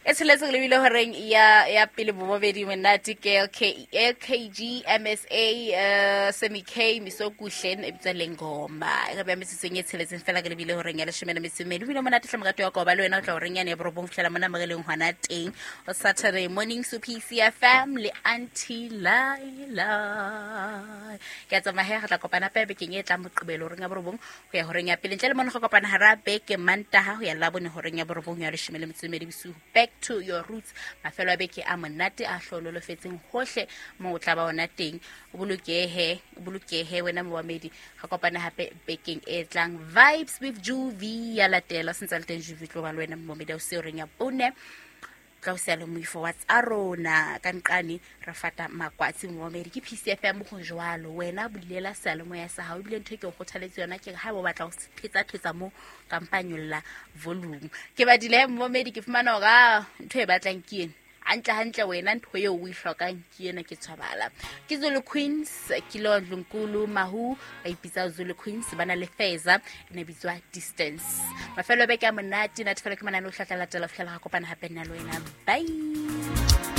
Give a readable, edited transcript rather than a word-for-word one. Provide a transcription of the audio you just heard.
E tsheletse re lebile horeng ya pele bobobedi monate ke LK, LKG MSA Semi K Misokuhle e bitswa Lengoma e re beha metsotsong e tsheletseng fela re lebile horeng ya leshome le metso e mmedi. O bile monate hle morati wa ka, o ba le wena o tla horeng yane ya borobong fihlela mona mo re leng hona teng o Saturday morning so PCFM le Auntie Laila. Ke a tsamaya he, re tla kopana hape bekeng e tlang Moqebelo horeng ya borobong ho ya horeng ya pele. Ntle le mona go kopana hara beke Mantaha ho ya Labone horeng ya borobong ya leshome le metso e mmedi bosiu. Back to your roots, mafelo a beke a monate a hlololofetseng hohle mo o tla ba ona teng. O bolokehe, o bolokehe wena moamedi. Re kopana hape bekeng e tlang. Vibes with Juvi ya latela, sentse le teng Juvi tlo ba le wena moamedi o se horeng ya bone. Tla o siya le moifo wa tsa rona ka nqane re fata makwatsi moamedi ke PCFM go jwalo. Wena bulela seyalemoya sa hao, ebile ntho e ke o kgothaletse yona ke ha o batla ho thetsa thetsa mo kampanyolla volume. Ke badile moamedi, ke fumana hore a ntho e batlang ke ena hantle hantle, wena ntho eo o e hlokang ke ena, ke tshwabala. Ke Zulu Queens, ke lo Dlunkulu Mahu ba ipitsa Zulu Queens, ba na le Feza e ne bitswa Distance. Mafelo a beke a monate, natefelo ke manane o hlatla latela ho fihlela ga kopana hape nna le wena. Bye.